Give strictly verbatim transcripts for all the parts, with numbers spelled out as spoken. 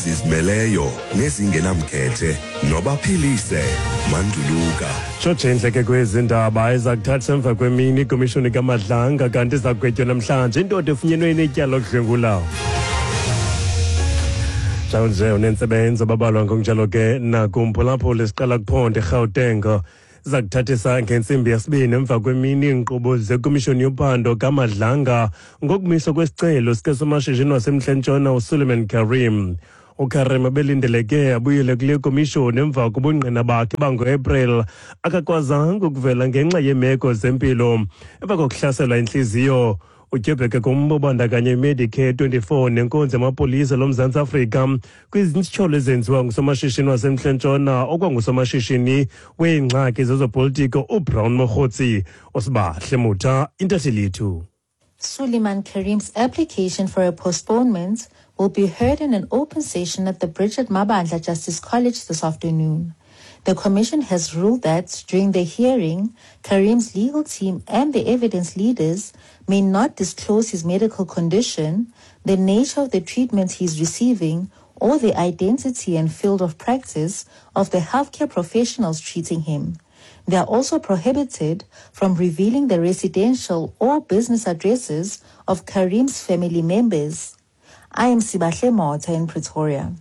Zizimeleyo nezingenamkhethe nobaphilise Manduluka. Tshotshe ke kwezi ndaba eza kuthatha emva kwemini ikomishoni kaMadlanga, kanti iza kugwetywa namhlanje indoda efunyenwe inetyala lokudlwengula. Njalo nje unentsebenzo babalwa ngokunjalo ke nakumphulaphula siqala kuphondo eGauteng. Iza kuthathisa ngentsimbi yesibini emva kwemini iinkqubo zekomishoni yophando kaMadlanga ngokumiswa kwesicelo sikasomashishini wasemNtla-Ntshona uSuleiman Karim. UKarim ebelindeleke abuyele kule komishoni emva kobungqina bakhe bangoApril, akakwazanga ukuvela ngenxa yeemeko zempilo emva kokuhlaselwa intliziyo. Utyebheke kumba obandakanya iMedicare twenty-four nenkonzo yamapolisa loMzantsi Afrika kwizityholo ezenziwa ngusomashishini wasemNtla-Ntshona okwangusomashishini weengxaki zezopolitiko uBrown Mogotsi. Usibahle Mutha, intatheli yethu. Suleiman Karim's application for a postponement will be heard in an open session at the Bridget Mabandla Justice College this afternoon. The commission has ruled that during the hearing, Karim's legal team and the evidence leaders may not disclose his medical condition, the nature of the treatment he is receiving, or the identity and field of practice of the healthcare professionals treating him. They are also prohibited from revealing the residential or business addresses of Karim's family members. I am Sibahle Motha in Pretoria.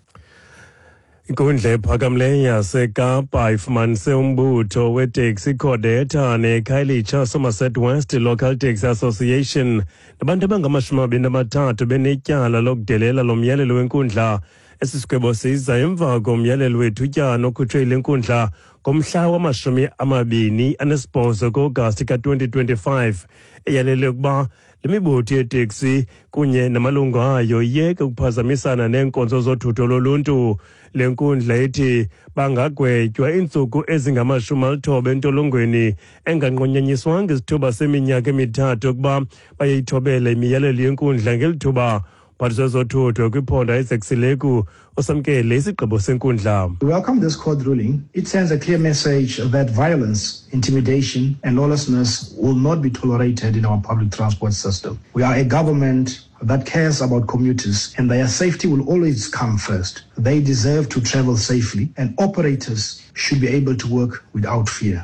Inkundla ephakamileyo yaseKapa ifumanise umbutho weteksi iCodeta neKhayelitsha Somerset West Local Taxi Association nabantu abangamashumi amabini amathathu benetyala lokudelela lo myalelo wenkundla. Esi sigwebo siza emva komyalelo wethutyana okhutshwe yile nkundla ngomhla wamashumi amabini anesibhozo kuAgasti ka-twenty twenty-five, eyalele ukuba le mibutho yeteksi kunye namalungu ayo iyeke ukuphazamisana neenkonzo zothutho loluntu. Le nkundla ithi bangagwetywa iintsuku ezingamashumi alithoba entolongweni enganqunyanyiswanga isithuba seminyaka emithathu ukuba bayayithobela imiyalelo yenkundla ngeli thuba. Mphathiswa wezothutho kwiphondo Isaac Sileku usamkele isigqibo senkundla. We welcome this court ruling. It sends a clear message that violence, intimidation and lawlessness will not be tolerated in our public transport system. We are a government that cares about commuters and their safety will always come first. They deserve to travel safely and operators should be able to work without fear.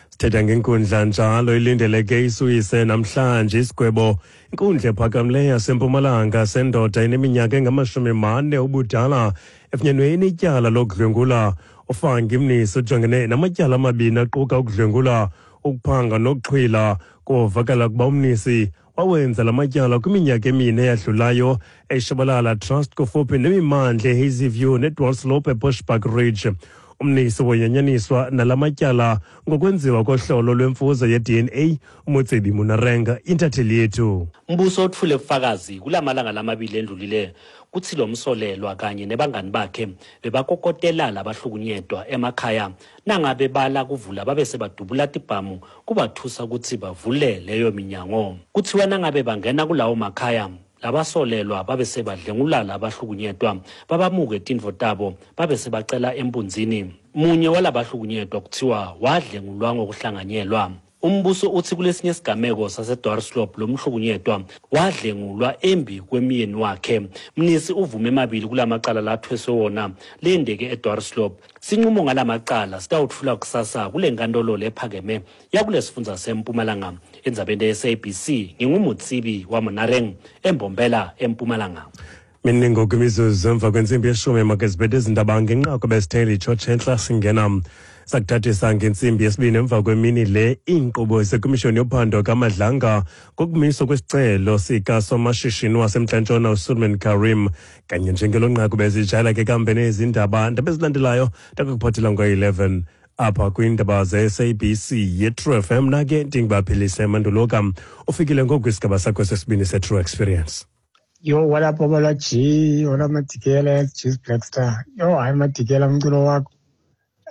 Sithetha ngenkundla njalo ilindeleke isuyise namhlanje isigwebo. Inkundla ephakamileyo yaseMpumalanga sendoda eneminyaka engamashumi mane ubudala efunyenwe inetyala lokudlwengula. uFangi Mnisi ujongene namatyala amabini aquka ukudlwengula, ukuphanga nokuxhwila. Kuvakala ukuba uMnisi wawenza la matyala kwiminyaka emine eyadlulayo eShabalala Trust kufuphi nemimandla eHazyview neDwarsloop eBushbuck Ridge. Umnisi wonyanyaniswa nala matyala ngokwenziwa kohlolo lwemfuzo ye-D N A. UMotsebi Munarenga, intatheli yethu. Umbuso othule ubufakazi kulamalanga lamabili endlulile kuthi lo msolelwa kanye nebangani bakhe bebakokotela labahlukunyedwa emakhaya nangabe bala kuvula babe sebadubula tibhamu kubathusa ukuthi bavule leyo minyango. Kuthiwa nangabe bangena kulawo makhaya labasolelwa babe sebadlengula labahlukunyedwa babamuke tindvo tabo babe sebacela embunzini. Munye walabahlukunyedwa kuthiwa wadlengulwa ngokuhlanganyelwa. Umbuso uthi kulesinye isigameko saseDwarsloop lo mhlukunyedwa wadlengulwa embi kwemiyeni wakhe. Mnisi uvume emabili kulamacala lathweswe wona lendeke eDwarsloop. Sinqumo ngalamacala sitawutfula kusasa kule nkantolo lephakeme yakulesifundza seMpumalanga. Endzabeni ye-S A B C nginguMutsibi waMonareng eMbombela eMpumalanga. Miningo kwimizuzu emva kwentsimbi yeshumi makezibethe izindaba ngenqaku besitheli Tshotshe singena sakuthathisa ngentsimbi yesibini emva kwemini le iinkqubo zekomishoni yophando kaMadlanga ngokumiswa kwesicelo sikasomashishini wasemNtla-Ntshona uSuleiman Karim. Kanye njengelo nqaku bezijayela ke kambe nezindaba ndaba ezilandelayo ndakukuphathela ngo-eleven apha kwiindaba ze-S A B C ye-True F M. Nake ndingubaphilise Manduluka ufikile ngoku kwisigaba sakho sesibini se-True Experience. Yo, what up, Obala G? What up, Matikela, G's Black Star? Yo, hayi Matikela, umculo wakho.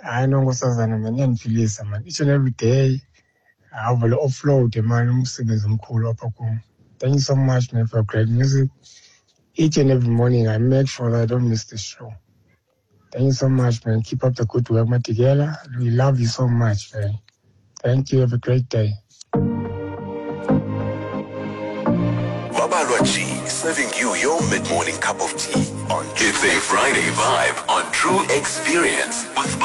Hayi nonkosazana man, iyandiphilisa man. Each and every day, avele offload man, umsebenzi omkhulu apha kum. Thank you so much, man, for great music. Each and every morning, I make sure that I don't miss the show. Thank you so much, man. Keep up the good work, Matikela. We love you so much, man. Thank you. Have a great day. Babalwa G, serving you your mid-morning cup of tea. On It's a Friday vibe on True Experience with